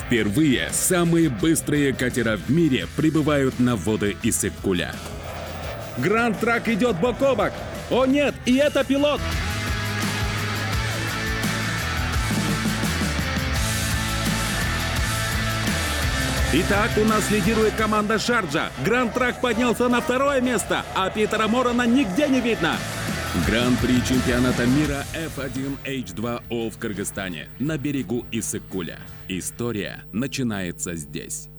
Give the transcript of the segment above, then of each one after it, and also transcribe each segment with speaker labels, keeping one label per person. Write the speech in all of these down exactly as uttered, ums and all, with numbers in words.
Speaker 1: Впервые самые быстрые катера в мире прибывают на воды Иссык-Куля.
Speaker 2: Гранд Трак идет бок о бок. О нет, и это пилот! Итак, у нас лидирует команда Шарджа. Гранд Трак поднялся на второе место, а Питера Морона нигде не видно.
Speaker 1: Гран-при чемпионата мира эф один эйч два о в Кыргызстане на берегу Иссык-Куля. История начинается здесь.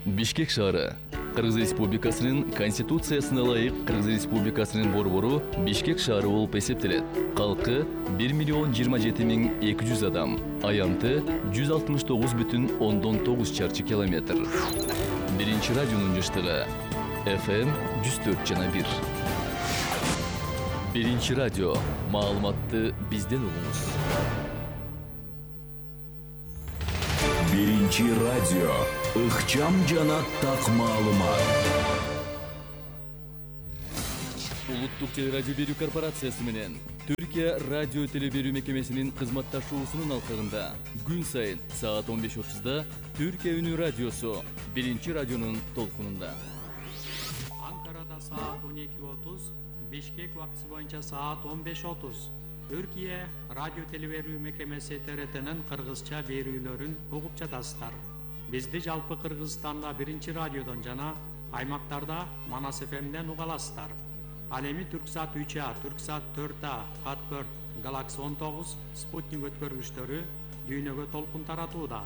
Speaker 3: Бишкек шаары. Кыргыз Республикасынын Конституциясына ылайык Кыргыз Республикасынын борбору Бишкек шаары болуп эсептелет. Калкы бир миллион жыйырма жети миң эки жүз адам. Аянты жүз алтымыш тогуз бүтүн ондон тогуз чарчы километр. Биринчи радионун жыштыгы эф эм жүз төрт жана бир. Биринчи радио. Маалыматты бизден угуңуз.
Speaker 4: Биринчи радио. Ыкчам жана так маалымат.
Speaker 3: Улуттук телерадио берүү корпорациясы менен Түркия радио теле берүү мекемесинин кызматташуусунун алкагында күн сайын саат он беш отузда Түркия үнү радиосу биринчи радионун толкунунда.
Speaker 5: Анкарада саат он эки отуз, Бишкек убактысы боюнча саат он беш отуз. Түркия радио теле берүү мекемеси тэ эр тнин кыргызча берүүлөрүн угуп жатасыздар. Бизди жалпы Кыргызстанда биринчи радиодон жана аймактарда Манас эф эмден уга аласыздар. Ал эми Түрксат үч а, Түрксат төрт а, Хатберт, Галакси он тогуз, Спутник өткөргүчтөрү дүйнөгө толкун таратууда.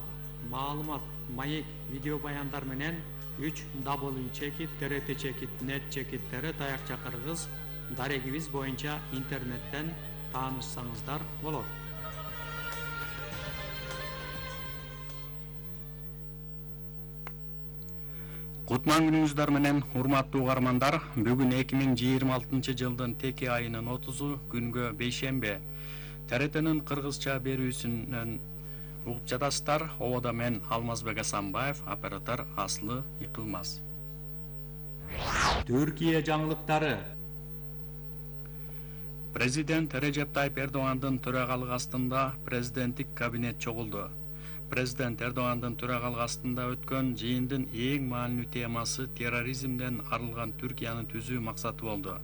Speaker 5: Маалымат, маек, видео баяндар менен үч дабл ю чекит тэ эр тэ чекит нет чекит тэ эр таякча кыргыз дарегибиз боюнча интернеттен таанышсаңыздар болот.
Speaker 6: Кутман күнүңүздөр менен урматтуу угармандар, бүгүн эки миң жыйырма алтынчы жылдын теке айынын отузу күнгө бейшембе. тэ эр тнин кыргызча берүүсүнөн угуп жатасыздар. Ободо мен Алмазбек Асанбаев, оператор Аслы Икылмаз.
Speaker 5: Түркия жаңылыктары.
Speaker 6: Президент Режеп Тайып Эрдогандын төрагалык астында президенттик кабинет чогулду. Президент Эрдогандын төрагалык астында өткөн жыйындын эң маанилүү темасы терроризмден арылган Түркияны түзүү максаты болду.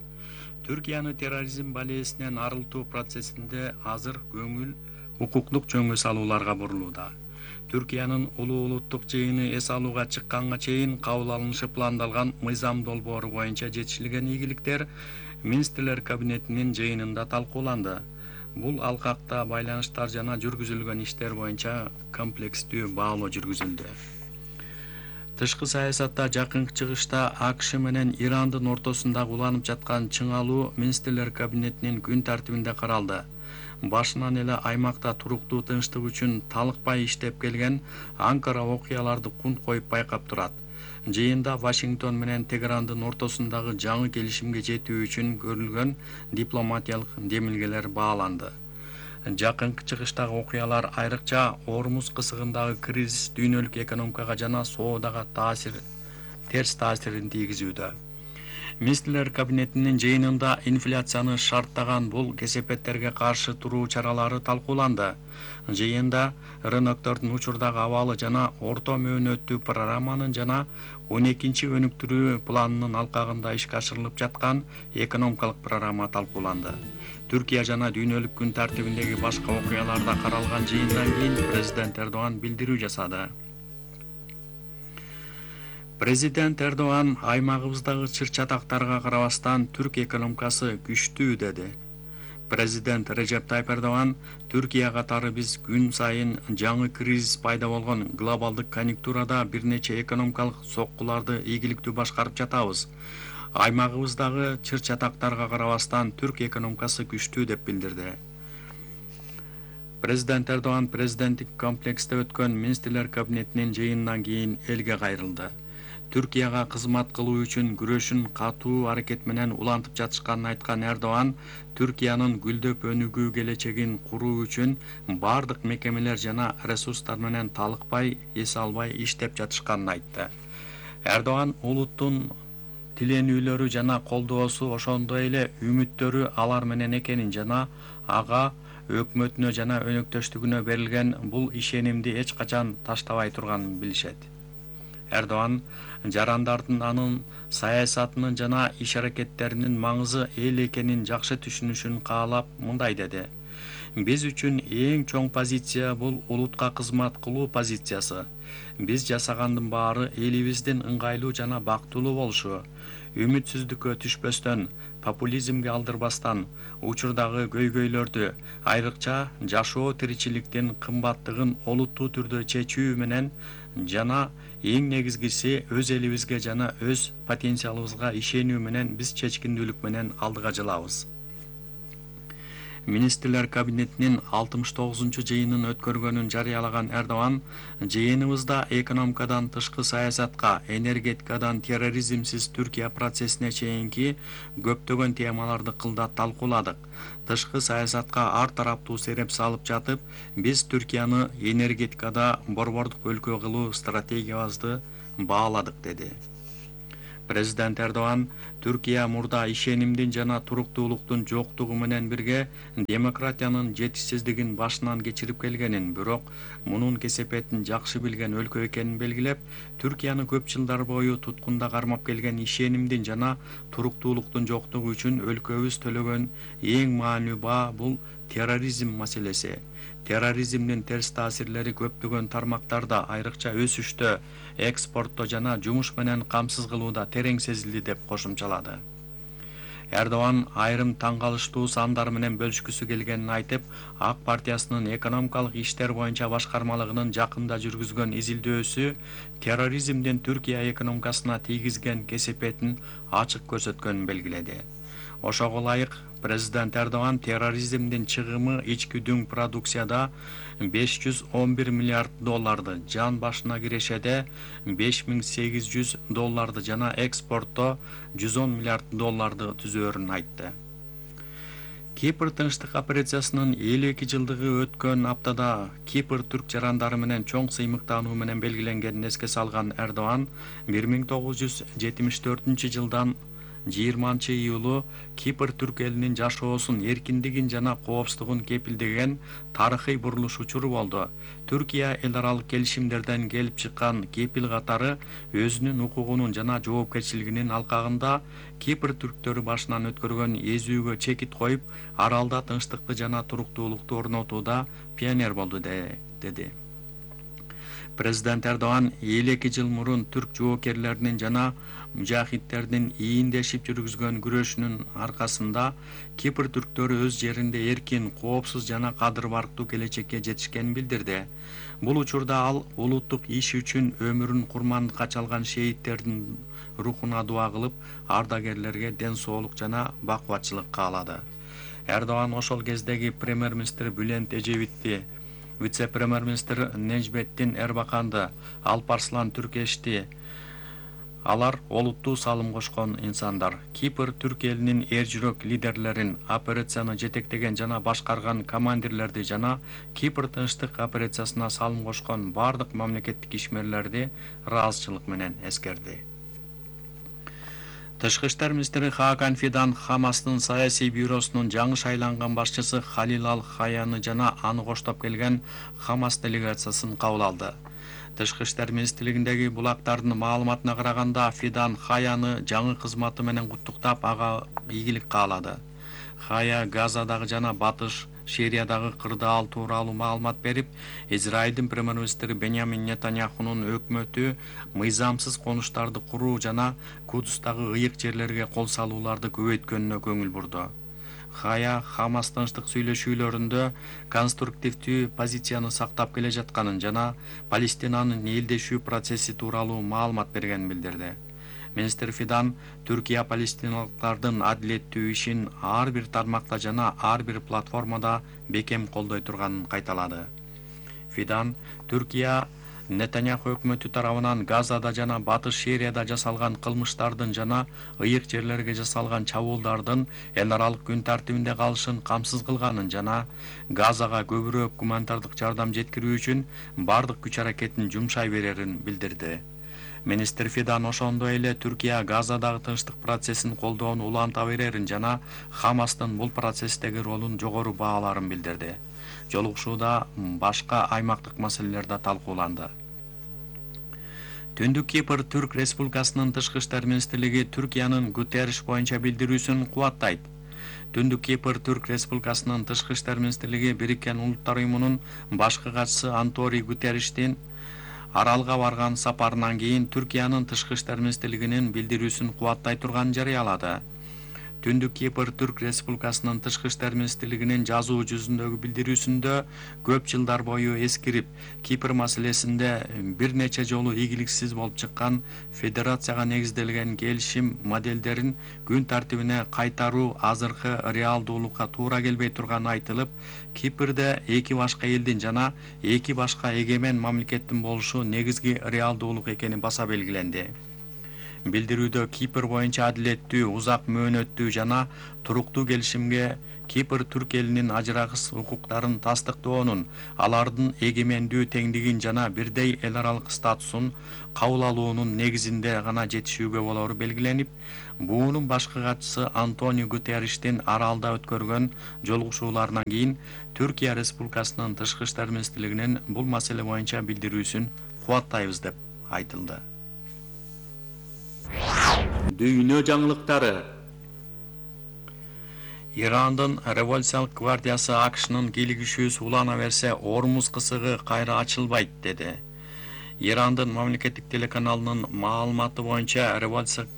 Speaker 6: Түркияны терроризм балээсинен арылтуу процессинде азыр көңүл укуктук жөнгө салууларга бурулууда. Түркиянын улуу улуттук жыйыны эс алууга чыкканга чейин кабыл алынышы пландалган мыйзам долбоору боюнча жетишилген ийгиликтер Министрлер кабинетинин жыйынында талкууланды. Бул алкакта байланыштар жана жүргүзүлгөн иштер боюнча комплекстүү баалоо жүргүзүлдү. Тышкы саясатта жакынкы чыгышта а ка ш менен Ирандын ортосундагы уланып жаткан чыңалуу Министрлер кабинетинин күн тартибинде каралды. Башынан эле аймакта туруктуу тынчтык үчүн талыкпай иштеп келген Анкара окуяларды кунт коюп байкап турат. Жыйында Вашингтон менен Тегерандын ортосундагы жаңы келишимге жетүү үчүн көрүлгөн дипломатиялык демилгелер бааланды. Жакынкы чыгыштагы окуялар айрыкча Ормуз кысыгындагы кризис дүйнөлүк экономикага жана соодага таасир терс таасирин тийгизүүдө. Министрлер кабинетинин жыйынында инфляцияны шарттаган бул кесепеттерге каршы туруу чаралары талкууланды. Жыйында рыноктордун учурдагы абалы жана орто мөөнөттүү программанын жана он экинчи өнүктүрүү планынын алкагында ишке ашырылып жаткан экономикалык программа талкууланды. Түркия жана дүйнөлүк күн тартибиндеги башка окуяларда каралган жыйындан кийин президент Эрдоган билдирүү жасады. Президент Эрдоган аймагыбыздагы чыр-чатактарга карабастан түрк экономикасы күчтүү деди. Президент Режеп Тайып Эрдоган Түркия катары биз күн сайын жаңы кризис пайда болгон глобалдык конъюнктурада бир нече экономикалык соккуларды ийгиликтүү башкарып жатабыз. Аймагыбыздагы чыр-чатактарга карабастан түрк экономикасы күчтүү деп билдирди. Президент Эрдоган президенттик комплексте өткөн Министрлер кабинетинин жыйынынан кийин элге кайрылды. Түркияга кызмат кылуу үчүн күрөшүн катуу аракет менен улантып жатышканын айткан Эрдоган, Түркиянын гүлдөп өнүгүү келечегин куруу үчүн бардык мекемелер жана ресурстар менен талыкпай, эс албай иштеп жатышканын айтты. Эрдоган улуттун тиленүүлөрү жана колдоосу ошондой эле үмүттөрү алар менен экенин жана ага өкмөтүнө жана өнөктөштүгүнө берилген бул ишенимди эч качан таштабай турганын билишет. Эрдоган жарандардын анын саясатынын жана иш-аракеттеринин маңызы эл экенин жакшы түшүнүшүн каалап мындай деди: биз үчүн эң чоң позиция бул улутка кызмат кылуу позициясы. Биз жасагандын баары элибиздин ыңгайлуу жана бактылуу болушу, үмүтсүздүккө түшпөстөн, популизмге алдырбастан, учурдагы көйгөйлөрдү, айрыкча жашоо тиричиликтин кымбаттыгын олуттуу түрдө чечүү менен жана эң негизгиси өз элибизге жана өз потенциалыбызга ишенүү менен биз чечкиндүүлүк менен алдыга жылабыз. Министрлер кабинетинин алтымыш тогузунчу жыйынын өткөргөнүн жарыялаган Эрдоган жыйыныбызда экономикадан тышкы саясатка, энергетикадан терроризмсиз Түркия процессине чейинки көптөгөн темаларды кылдат талкууладык. Тышкы саясатка ар тараптуу сереп салып жатып, биз Түркияны энергетикада борбордук өлкө кылуу стратегиябызды бааладык, деди. Президент Эрдоган Түркия мурда ишенимдин жана туруктуулуктун жоктугу менен бирге демократиянын жетишсиздигин башынан кечирип келгенин, бирок мунун кесепетин жакшы билген өлкө экенин белгилеп, Түркияны көп жылдар бою туткунда кармап келген ишенимдин жана туруктуулуктун жоктугу үчүн өлкөбүз төлөгөн эң маанилүү баа бул терроризм маселеси. Терроризмдин терс таасирлери көптөгөн тармактарда, айрыкча өсүштө, экспортто жана жумуш менен камсыз кылууда терең сезилди, деп кошумчалады. Эрдоган айрым таң калыштуу сандар менен бөлүшкүсү келгенин айтып, Ак партиясынын экономикалык иштер боюнча башкармалыгынын жакында жүргүзгөн изилдөөсү терроризмдин Түркия экономикасына тийгизген кесепетин ачык көрсөткөнүн белгиледи. Ошого ылайык президент Эрдоган терроризмдин чыгымы ички дүң продукцияда беш жүз он бир миллиард долларды, жан башына кирешеде беш миң сегиз жүз долларды жана экспортто жүз он миллиард долларды түзөөрүн айтты. Кипр тынчтык операциясынын элүү эки жылдыгы өткөн аптада Кипр түрк жарандары менен чоң сыймыктануу менен белгиленгенин эске салган Эрдоган бир миң тогуз жүз жетимиш төртүнчү жылдан жыйырманчы июлу Кипр түрк элинин жашоосун, эркиндигин жана коопсуздугун кепилдеген тарыхый бурулуш учуру болду. Түркия эл аралык келишимдерден келип чыккан кепил катары өзүнүн укугунун жана жоопкерчилигинин алкагында Кипр түрктөрү башынан өткөргөн эзүүгө чекит коюп, аралда тынчтыкты жана туруктуулукту орнотууда пионер болду, деди. Президент Эрдоган элүү эки жыл мурун түрк жоокерлеринин жана мужахидтердин ийиндешип жүргүзгөн күрөшүнүн аркасында Кипр түрктөрү өз жеринде эркин, коопсуз жана кадыр барктуу келечекке жетишкенин билдирди. Бул учурда ал улуттук иш үчүн өмүрүн курмандыкка чалган шейттердин рухуна дуа кылып, ардагерлерге ден соолук жана бакубатчылык каалады. Эрдоган ошол кездеги премьер-министр Бülent Ecevit'ти, вице-премьер-министр Нежметдин Эрбаканды, Алпарслан Түркешти, алар олуттуу салым кошкон инсандар. Кипр түрк элинин эр жүрөк лидерлерин, операцияны жетектеген жана башкарган командирлерди жана Кипр тынчтык операциясына салым кошкон бардык мамлекеттик ишмерлерди ыраазычылык менен эскерди. Тышкы иштер министри Хакан Фидан Хамастын саясий бюросунун жаңы шайланган башчысы Халил Ал-Хаяны жана аны коштоп келген Хамас делегациясын кабыл алды. Тышкы иштер министрлигиндеги булактардын маалыматына караганда, Фидан Хаяны жаңы кызматы менен куттуктап, ага ийгилик каалады. Хая Газадагы жана Батыш Сириядагы кырдаал тууралуу маалымат берип, Израилдин премьер-министри Беньямин Нетаньяхунун өкмөтү мыйзамсыз конуштарды куруу жана Кудустагы ыйык жерлерге кол салууларды көбөйткөнүнө көңүл бурду. Хая Хамас тынчтык сүйлөшүүлөрүндө конструктивдүү позицияны сактап келе жатканын жана Палестинанын элдешүү процесси тууралуу маалымат бергенин билдирди. Министр Фидан Түркия палестиналыктардын адилеттүү ишин ар бир тармакта жана ар бир платформада бекем колдой турганын кайталады. Фидан Түркия Нетаньяху өкмөтү тарабынан Газада жана Батыш Сирияда жасалган кылмыштардын жана ыйык жерлерге жасалган чабуулдардын эл аралык күн тартибинде калышын камсыз кылганын жана Газага көбүрөөк гуманитардык жардам жеткирүү үчүн бардык күч аракетин жумшай берерин билдирди. Министр Фидан ошондой эле Түркия Газадагы тынчтык процессин колдоону уланта берерин жана Хамастын бул процесстеги ролун жогору бааларын билдирди. Жолугушууда башка аймактык маселелер да талкууланды. Түндүк Кипр Түрк Республикасынын тышкы иштер министрлиги Түркиянын Гутерриш боюнча билдирүүсүн кубаттайт. Түндүк Кипр Түрк Республикасынын тышкы иштер министрлиги Бириккен Улуттар уюмунун башкы катчысы Антонио Гутерриштин Аралга барган сапарынан кийин Түркиянын тышкы иштер министрлигинин билдирүүсүн кубаттай турганын жарыялады. Түндүк Кипр Түрк Республикасынын тышкы иштер министрлигинин жазуу жүзүндөгү билдирүүсүндө көп жылдар бою эскирип, Кипр маселесинде бир нече жолу ийгиликсиз болуп чыккан федерацияга негизделген келишим моделдерин күн тартибине кайтаруу азыркы реалдуулукка туура келбей турганы айтылып, Кипрде эки башка элдин жана эки башка эгемен мамлекеттин болушу негизги реалдуулук экени баса белгиленди. Билдирүүдө Кипр боюнча адилеттүү, узак мөөнөттүү жана туруктуу келишимге Кипр түрк элинин ажырагыс укуктарын тастыктоонун, алардын эгемендүү теңдигин жана бирдей эл аралык статусун кабыл алуунун негизинде гана жетишүүгө болору белгиленип, буунун башкы катчысы Антонио Гутерриштин Аралда өткөргөн жолугушууларынан кийин Түркия Республикасынын тышкы иштер министрлигинин бул маселе боюнча билдирүүсүн кубаттайбыз деп айтылды. Дүйнө жаңылыктары. Ирандын революциялык гвардиясы АКШнын кийлигишүүсү улана берсе, Ормуз кысыгы кайра ачылбайт деди. Ирандын мамлекеттик телеканалынын маалыматы боюнча революциялык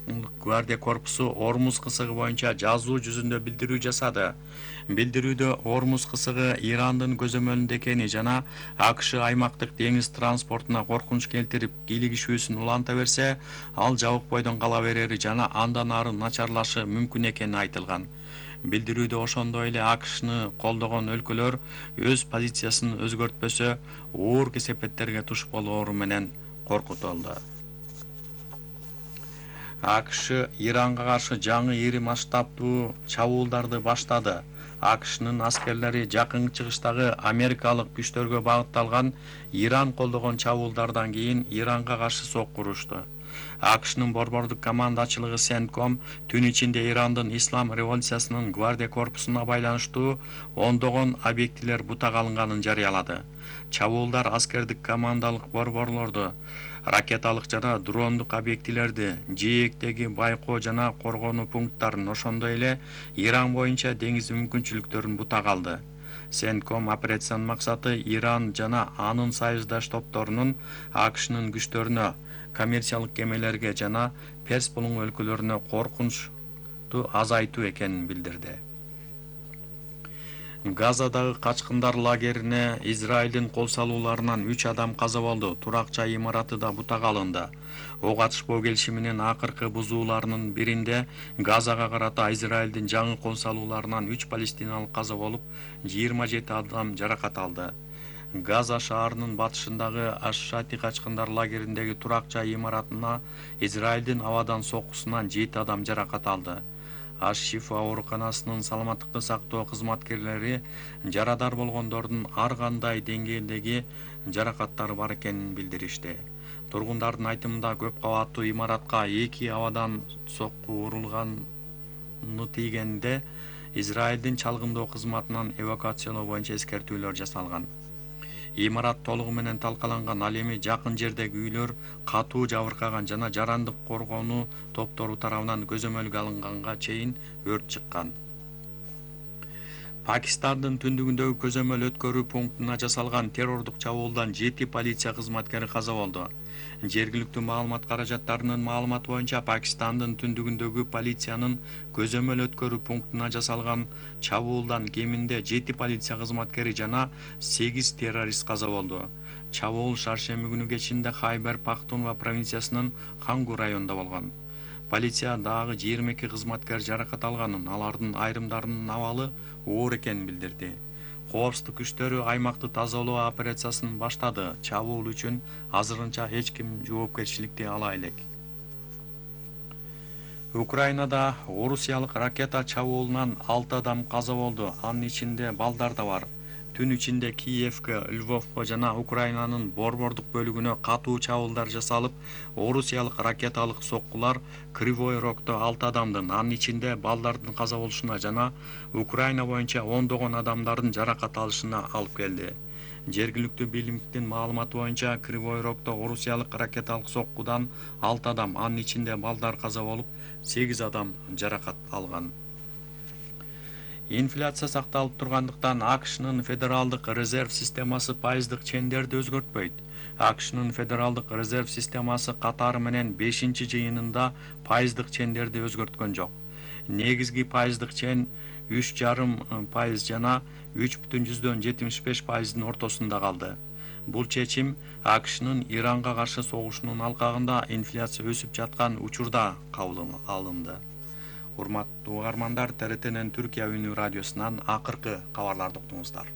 Speaker 6: гвардия корпусу Ормуз кысыгы боюнча жазуу жүзүндө билдирүү жасады. Билдирүүдө Ормуз кысыгы Ирандын көзөмөлүндө экени жана АКШ аймактык деңиз транспортуна коркунуч келтирип, кийлигишүүсүн уланта берсе, ал жабык бойдон кала берери жана андан ары начарлашы мүмкүн экени айтылган. Билдирүүдө ошондой эле АКШны колдогон өлкөлөр өз позициясын өзгөртпөсө, оор кесепеттерге туш болоору менен коркутулду. АКШ Иранга каршы жаңы ири масштабтуу чабуулдарды баштады. АКШнын аскерлери жакынкы чыгыштагы америкалык күчтөргө багытталган Иран колдогон чабуулдардан кийин Иранга каршы сокку урушту. АКШнын борбордук командачылыгы Сентком түн ичинде Ирандын Ислам революциясынын гвардия корпусуна байланыштуу ондогон объектилер бутак алынганын жарыялады. Чабуулдар аскердик командалык борборлорду, ракеталык жана дрондук объектилерди, жээктеги байкоо жана коргонуу пункттарын, ошондой эле Иран боюнча деңиз мүмкүнчүлүктөрүн бутак алды. Сентком операциянын максаты Иран жана анын союздаш топторунун АКШнын күчтөрүнө, коммерциялык кемелерге жана Перс булуң өлкөлөрүнө коркунучту азайтуу экенин билдирди. Газадагы качкындар лагерине Израилдин кол салууларынан үч адам каза болду. Турак жай имараты да бутак алынды. Ок атышпоо келишиминин акыркы бузууларынын биринде Газага карата Израилдин жаңы кол салууларынан үч палестиналык каза болуп, жыйырма жети адам жаракат алды. Газа шаарынын батышындагы Аш-Шати качкындар лагериндеги турак жай имаратына Израилдин абадан соккусунан жети адам жаракат алды. Аш-Шифа ооруканасынын саламаттыкты сактоо кызматкерлери жарадар болгондордун ар кандай деңгээлдеги жаракаттары бар экенин билдиришти. Тургундардын айтымында көп кабаттуу имаратка эки абадан сокку урулганы тийгенде Израилдин чалгындоо кызматынан эвакуациялоо боюнча эскертүүлөр жасалган. Имарат толугу менен талкаланган, ал эми жакын жердеги үйлөр катуу жабыркаган жана жарандык коргонуу топтору тарабынан көзөмөлгө алынганга чейин өрт чыккан. Пакистандын түндүгүндөгү көзөмөл өткөрүү пунктуна жасалган террордук чабуулдан жети полиция кызматкери каза болду. Жергиликтүү маалымат каражаттарынын маалыматы боюнча Пакистандын түндүгүндөгү полициянын көзөмөл өткөрүү пунктуна жасалган чабуулдан кеминде жети полиция кызматкери жана сегиз террорист каза болду. Чабуул шаршемби күнү кечинде Хайбер Пахтунва провинциясынын Хангу районунда болгон. Полиция дагы жыйырма эки кызматкер жаракат алганын, алардын айрымдарынын абалы оор экенин билдирди. Коопсуздук күчтөрү аймакты тазалоо операциясын баштады. Чабуул үчүн азырынча эч ким жоопкерчиликти ала элек. Украинада орусиялык ракета чабуулунан алты адам каза болду, анын ичинде балдар да бар. түн ичинде Киевке, Львовко жана Украинанын борбордук бөлүгүнө катуу чабуулдар жасалып, орусиялык ракеталык соккулар Кривой Рогдо алты адамдын, анын ичинде балдардын каза болушуна жана Украина боюнча ондогон адамдардын жаракат алышына алып келди. Жергиликтүү бийликтин маалыматы боюнча Кривой Рогдо орусиялык ракеталык соккудан алты адам, анын ичинде балдар каза болуп, сегиз адам жаракат алган. Инфляция сакталып тургандыктан АКШнын федералдык резерв системасы пайыздык чендерди өзгөртпөйт. АКШнын федералдык резерв системасы катары менен бешинчи жыйынында пайыздык чендерди өзгөрткөн жок. Негизги пайыздык чен үч жарым пайыз жана үч бүтүн жүздөн жетимиш беш пайыздын ортосунда калды. Бул чечим АКШнын Иранга каршы согушунун алкагында инфляция өсүп жаткан учурда кабыл алынды. Урматтуу угармандар, Т Р Тнин Түркия үнү радиосунан акыркы кабарларды уктуңуздар.